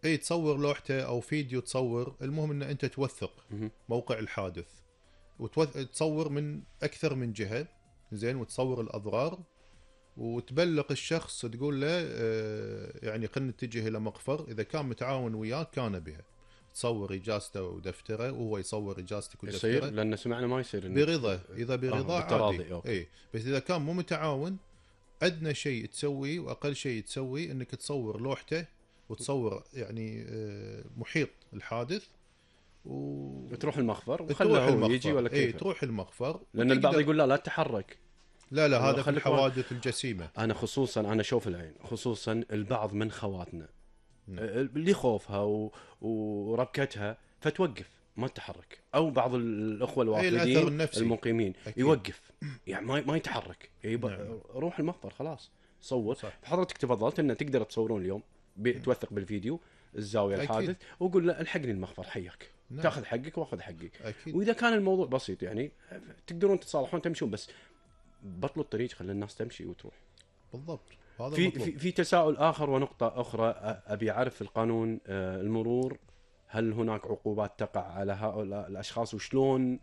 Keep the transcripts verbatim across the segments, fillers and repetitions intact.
اي تصور لوحته او فيديو تصور، المهم ان انت توثق موقع الحادث وتصور من اكثر من جهة زين، وتصور الاضرار وتبلغ الشخص تقول له اه يعني خلينا نتجه الى مقفر، اذا كان متعاون وياك كان بها تصور اجازته ودفتره وهو يصور اجازتك ودفتره. يصير لان سمعنا ما يصير برضا، اذا برضا آه عادي. اي بس اذا كان مو متعاون ادنى شيء تسويه واقل شيء تسويه انك تصور لوحته وتصور يعني محيط الحادث و... وتروح المخفر وخله هو يجي ولا كيف. اي تروح المخفر، لان البعض يقول لا لا تتحرك. لا لا هذا في الحوادث الجسيمه. انا خصوصا انا شوف العين خصوصا البعض من خواتنا اللي خوفها و... وربكتها فتوقف ما تتحرك، او بعض الاخوه الوافدين المقيمين أكيد. يوقف يعني ما ما يتحرك يب... نعم. روح المخفر خلاص صور. حضرتك تفضلت ان تقدر تصورون اليوم ب... توثق بالفيديو الزاويه أكيد. الحادث وقول له الحقني المخفر حياك. نعم. تاخذ حقك واخذ حقي أكيد. واذا كان الموضوع بسيط يعني تقدرون تتصالحون تمشون، بس بطلوا الطريق خلي الناس تمشي وتروح. بالضبط. هذا في في, في تساؤل اخر ونقطه اخرى ابي اعرف في القانون المرور، هل هناك عقوبات تقع على هؤلاء الاشخاص وشلون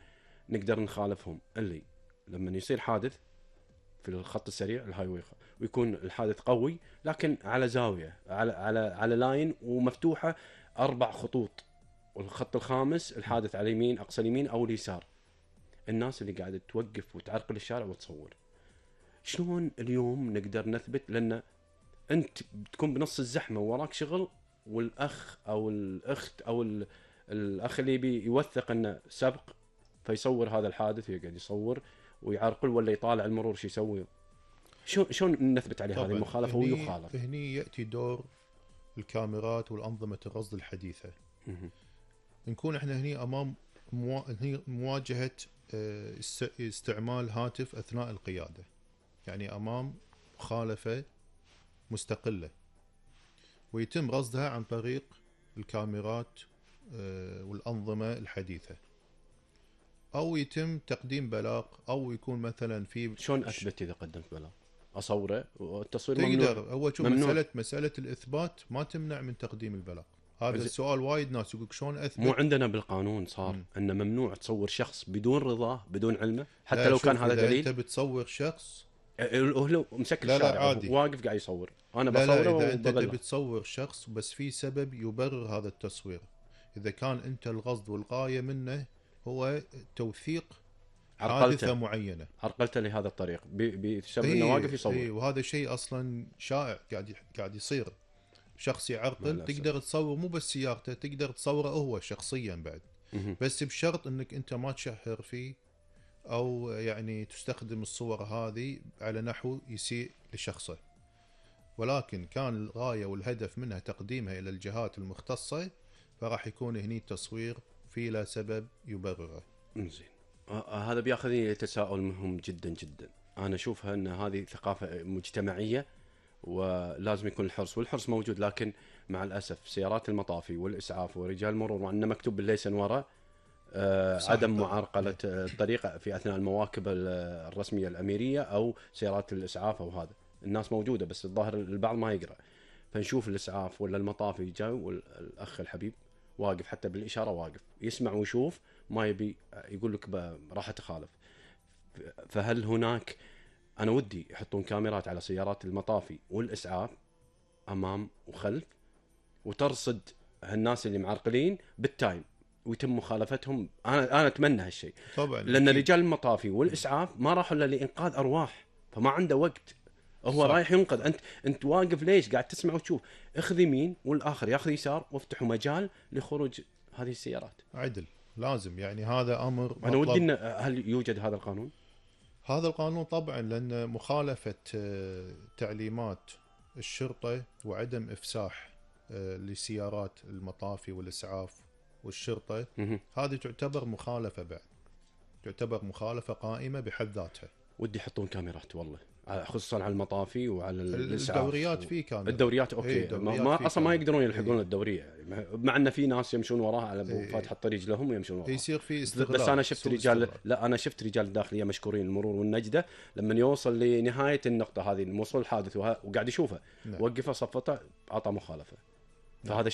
نقدر نخالفهم؟ اللي لما يصير حادث في الخط السريع الهايوي ويكون الحادث قوي لكن على زاويه على على على لاين ومفتوحه اربع خطوط، والخط الخامس الحادث على اليمين اقصى اليمين او اليسار، الناس اللي قاعده توقف وتعرقل الشارع وتصور، شلون اليوم نقدر نثبت؟ لان انت بتكون بنص الزحمه ووراك شغل، والاخ او الاخت او الاخ اللي بي يوثق انه سبق فيصور هذا الحادث ويقعد يصور ويعرقل ولا يطالع المرور شو يسوي، شلون شلون نثبت عليه هذه المخالفه ويخالف؟ هني ياتي دور الكاميرات والانظمه الرصد الحديثه. نكون احنا هني امام موا... هني مواجهه استعمال هاتف اثناء القياده، يعني امام مخالفه مستقله ويتم رصدها عن طريق الكاميرات والانظمه الحديثه، او يتم تقديم بلاغ، او يكون مثلا في شلون اثبت اذا قدمت بلاغ؟ اصوره والتصوير ممنوع؟ هو شوف مساله مساله الاثبات ما تمنع من تقديم البلاغ. هذا السؤال وايد ناس يقولك شلون اثبت؟ مو عندنا بالقانون صار م. ان ممنوع تصور شخص بدون رضاه بدون علمه حتى لو كان هذا دليل. انت بتصور شخص هو مسكر الشارع واقف قاعد يصور، انا لا بصوره لا اذا انت تبي تصور شخص بس في سبب يبرر هذا التصوير، اذا كان انت القصد والغايه منه هو توثيق حادثه معينه، عرقلته لهذا الطريق بسبب انه واقف يصور. اي وهذا شيء اصلا شائع قاعد قاعد يصير، شخص يعرقل تقدر تصور مو بس سيارته، تقدر تصوره هو شخصيا بعد، بس بشرط انك انت ما تشهر فيه او يعني تستخدم الصور هذه على نحو يسيء لشخصه، ولكن كان الغاية والهدف منها تقديمها الى الجهات المختصة فراح يكون هني التصوير في لا سبب يبرره. زين آه هذا بياخذني لتساؤل مهم جدا جدا. انا اشوفها ان هذه ثقافة مجتمعية ولازم يكون الحرص، والحرص موجود، لكن مع الاسف سيارات المطافي والاسعاف ورجال المرور وانه مكتوب بالليسن ورا آه عدم معرقلة الطريق في اثناء المواكب الرسمية الاميرية او سيارات الاسعاف او هذا، الناس موجودة بس الظاهر البعض ما يقرأ، فنشوف الاسعاف ولا المطافي جاي والاخ الحبيب واقف حتى بالاشارة واقف يسمع ويشوف ما يبي يقول لك راح اتخالف. فهل هناك أنا ودي يحطون كاميرات على سيارات المطافي والإسعاف أمام وخلف وترصد هالناس اللي معرقلين بالتايم ويتم مخالفتهم؟ أنا أنا أتمنى هالشيء طبعا، لأن أكيد. رجال المطافي والإسعاف ما راحوا إلا لإنقاذ أرواح، فما عنده وقت، هو صح. رايح ينقذ، أنت أنت واقف ليش؟ قاعد تسمع وتشوف، اخذ يمين والآخر ياخذ يسار وافتحوا مجال لخروج هذه السيارات. عدل لازم، يعني هذا أمر أنا ودي إن هل يوجد هذا القانون؟ هذا القانون طبعا، لأن مخالفة تعليمات الشرطة وعدم إفساح لسيارات المطافي والإسعاف والشرطة هذه تعتبر مخالفة، بعد تعتبر مخالفة قائمة بحد ذاتها. ودي يحطون كاميرات والله، خصوصا على المطافي وعلى الإسعاف. الدوريات في كاميرا، الدوريات أوكي إيه الدوريات ما أصلا ما يقدرون يلحقون الدورية يعني، مع أن في ناس يمشون وراها على إيه فاتح الطريق لهم ويمشون وراها، يصير في استغلال. بس أنا شفت رجال استغلال. لا أنا شفت رجال الداخلية مشكورين المرور والنجدة لما يوصل لنهاية النقطة هذه الموصول الحادث وقاعد يشوفه نعم. وقفه صفته أعطى مخالفة، فهذا شيء